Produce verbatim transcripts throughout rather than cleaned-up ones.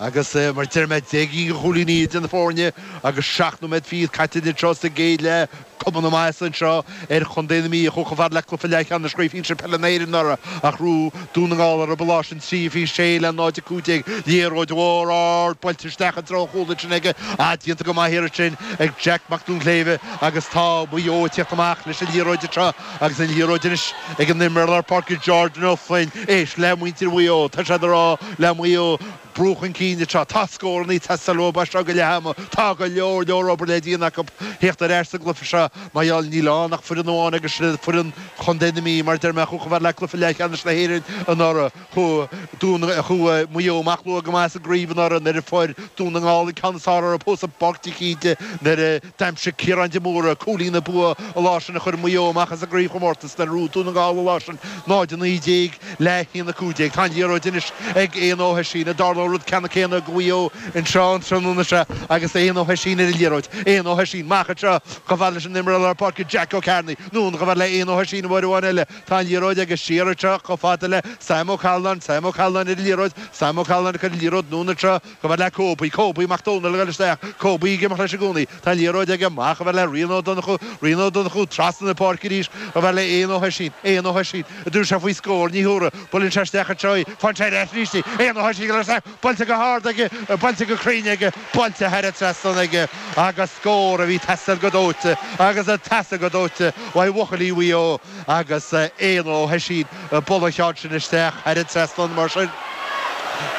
Agus mar deir mé deich gcinn de chúilíní idir na foirne agus seacht nóiméad fichead caite anseo sa gcéad leath, cuma na maitheasa anseo ar chontae na Mí a chuaigh chomh fada le cluiche leathcheannais Chraobh Shinsir Peile na hÉireann anuraidh ach ghnóthaigh Dún na nGall orthu an lá sin trí fiche sé le náid a cúig déag. Liathróid mhór ard buailte isteach i dtreo an chúil ansin aige. Ah, déanta go maith thiar ansin ag Jack Mac Duinnshléibhe agus tá Maigh Eo ag tíocht amach leis an liathróid anseo agus an liathróid anois ag an imreoir lár páirce Jordan Ó Floinn. Éist le muintir Mhaigh Eo, tá siad ag rá le Maigh Eo, Brú chun cinn anseo. Tá scóranna ag teastáil uathu as seo go leath ama. Tá go leor leor obair le déanamh acu theacht ar ais sa gcluiche seo. Mar gheall, níl ann ach foireann amháin agus sin foireann Chontae na Mí, mar a deir mé, a chuaigh chomh fada le cluiche leathcheannais na hÉireann anuraidh. Chuaigh Dún, chuaigh Maigh Eo amach luath go maith sa gcraobh anuraidh nuair a fuair Dún na nGall an ceann is fearr orthu thuas i bPáirc de hÍde nuair a d'aimsigh Ciarán de Mórdha cúilín an bua an lá sin a chuir Maigh Eo amach as an gcraobhchomórtas nuair a ghnóthaigh Dún na nGall an lá sin náid a naoi déag le haon a cúig déag. Tá an liathróid anois ag Éanna Ó hOisín. An dtarlóidh an rud ceannann céanna do Mhaigh Eo anseo an tráthnóna seo agus Éanna Ó hOisín ar an liathróid. Éanna Ó hOisín amach anseo chomh fada leis an imreoir lár páirce Jack Ó Cearnaigh. Anonn chomh fada le Éanna Ó hOisín uair amháin eile. Tá an liathróid aige siar anseo chomh fada le Sam Ó Callanáin. Sam Ó Callanáin ar an liathróid. Sam Ó Callanáin ag cur an liathróid anonn anseo chomh fada le Kobe. Kobe Mac Dónaill ag dul isteach. Kobe ag imeacht leis i gcónaí. Tá an liathróid aige amach chomh fada le Rian Ó Donnchú. Rian Ó Donnchú trasna na páirce arís chomh fada le Éanna Ó hOisín. Éanna Ó hOisín. An dtabharfaidh sé faoi scór, ní thabharfaidh. Buaileann sé isteach anseo í. Faigheann sé ar ais arís í. Éanna Ó hOisín ag dul isteach. Buailte go hard aige. Buailte go cruinn aige. Buailte thar an trasnán aige. Agus scór a bhí ag teastáil go dóite. Agus ag teastáil go dóite uaidh bhuachaillí Mhaigh Eo. Agus Éanna Ó hOisín ag bualadh an cheann sin isteach thar an trasnán mar sin.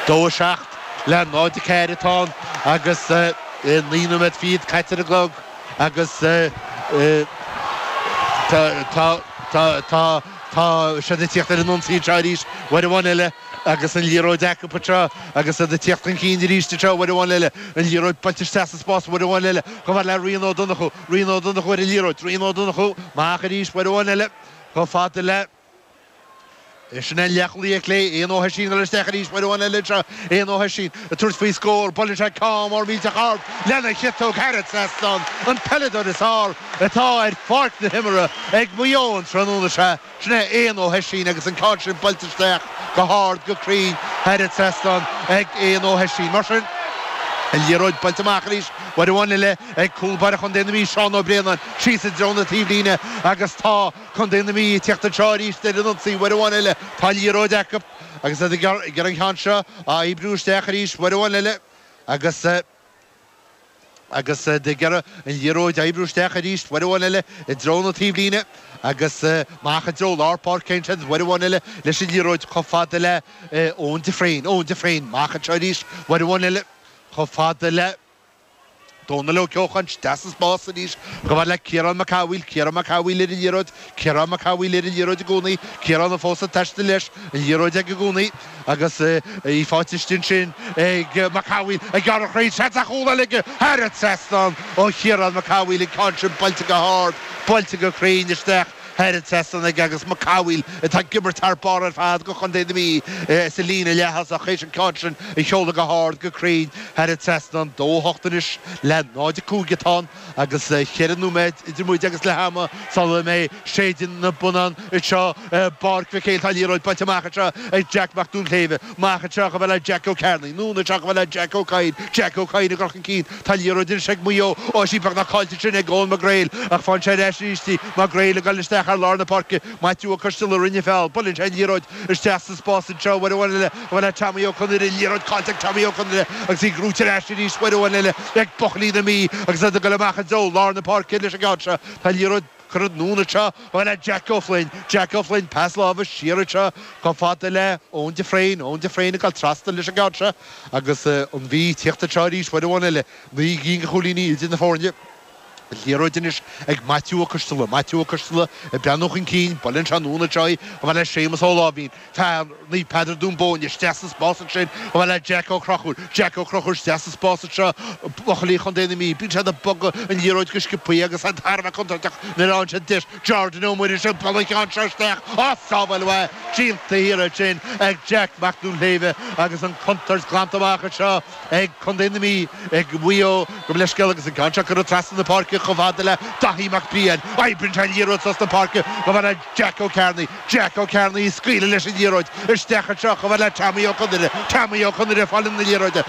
Dó a seacht le náid a ceathair atá ann agus naoi nóiméad fichead caite ar an gclog agus tá tá tá tá siad ag tíocht ar an ionsaí anseo arís uair amháin eile agus an liathróid acu anseo agus iad ag tíocht chun cinn arís anseo uair amháin eile, an liathróid buailte isteach sa spás uair amháin eile chomh fada le Rian Ó Donnchú, Rian Ó Donnchú ar an liathróid, Rian Ó Donnchú amach arís uair amháin eile chomh fada le. Sin é an leathchúlaí ar clé, Éanna Ó hOisín ag dul isteach arís uair amháin eile anseo, Éanna Ó hOisín ag tabhairt faoi scór, buaileann sé ceann mór millteach ard lena chiotóg thar an trasnán, an peileadóir is fearr atá ar pháirc na himeartha ag Maigh Eo an tráthnóna seo. Sin é Éanna Ó hOisín agus an ceann sin buailte isteach go hard, go cruinn thar an trasnán ag Éanna Ó hOisín. Mar sin, an liathróid buailte amach arís uair amháin eile ag cúl báire Chontae na Mí, Seán Ó Braonáin, síos i dtreo na taobhlíne agus tá Contae na Mí ag tíocht anseo arís ar an ionsaí uair amháin eile. Tá an liathróid acu agus iad ag iarraidh an ceann seo a oibriú isteach arís uair amháin eile agus agus iad ag iarraidh an liathróid a oibriú isteach arís uair amháin eile i dtreo na taobhlíne agus amach i dtreo lár páirce ansin uair amháin eile leis an liathróid chomh fada le Eoin de Fréin. Eoin de Fréin amach anseo arís uair amháin eile chomh fada le Dónal Ó Ceocháin isteach sa spás arís chomh fada le Ciarán Mac Cathmhaoil, Ciarán Mac Cathmhaoil ar an liathróid, Ciarán Mac Cathmhaoil ar an liathróid i gcónaí, Ciarán fós ag taisteal leis, an liathróid aige i gcónaí agus í faighte istigh ansin ag Mac Cathmhaoil ag gearradh thríd, seans ar chúl eile aige thar an trasnán ó Chiarán Mac Cathmhaoil, an ceann sin buailte go hard, buailte go cruinn isteach. Thar an trasnán aige agus Mac Cathmhaoil atá ag imirt thar barr ar fad do chontae na Mí sa líne leath-thosach théis an ceann sin a sheoladh go hard go cruinn thar an trasnán. Dó a hocht anois le náid a cúig atá ann agus ceithre nóiméad idir muid agus leath ama sula mbeidh séideadh na bonnán anseo i bPáirc Mhic Éil. Tá an liathróid buailte amach anseo ag Jack Mac Duinnshléibhe. Amach anseo chomh fada le Jack Ó Cearnaigh. Anonn anseo chomh fada le Jack Ó Cadhain. Jack Ó Cadhain ag dul chun cinn. Tá an liathróid anois ag Maigh Eo. Ó, is í beagnach caillte ansin ag Eoin Mac Gréil ach faigheann sé ar ais arís í. Mac Gréil ag dul isteach ar lár na páirce. Maitiú Ó Coisteala a rinne feall. Buaileann sé an liathróid isteach sa spás anseo uair amháin eile chomh fada le Tommy Ó Conaire. Liathróid caillte ag Tommy Ó Conaire agus í gnóite ar ais arís uair amháin eile ag buachaillí na Mí agus iad ag dul amach i dtreo lár na páirce leis an gceann seo. Tá an liathróid curtha anonn anseo chomh fada le Jack Ó Floinn. Jack Ó Floinn, pas láimhe siar anseo chomh fada le Eoin de Fréin. Eoin de Fréin ag dul trasna leis an gceann seo agus an Mhí ag tíocht anseo arís uair amháin eile. Naoi gcinn de chúilíní idir na foirne. An liathróid anois ag Maitiú Ó Coisteala. Maitiú Ó Coisteala ag breathnú chun cinn. Buaileann sé anonn anseo í chomh fada le Séamus Ó Láimhín. Fear Naomh Peadar Dún Bóinne isteach sa spás ansin chomh fada le Jack Ó Conchúir. Jack Ó Conchúir isteach sa spás anseo. Buachaillí Chontae na Mí. Bíonn siad ag bogadh an liathróid go sciobthaí agus iad thar a bheith contúirteach nuair a fhaigheann siad deis. Jordan Ó Muiris ag bualadh an ceann seo isteach. Á, sábháil mhaith déanta thiar ansin ag Jack Mac Duinnshléibhe agus an chontúirt glanta amach anseo ag Contae na Mí, ag Maigh Eo, gabh mo leithscéal agus an ceann seo curtha trasna na páirce. páirce chomh fada le Daithí Mac Briain. Oibríonn sé an liathróid trasna páirce chomh fada le Jack Ó Cearnaigh. Jack Ó Cearnaigh ag scaoileadh leis an liathróid isteach anseo chomh fada le Tommy Ó Conaire. Tommy Ó Conaire ag fáil na liathróide.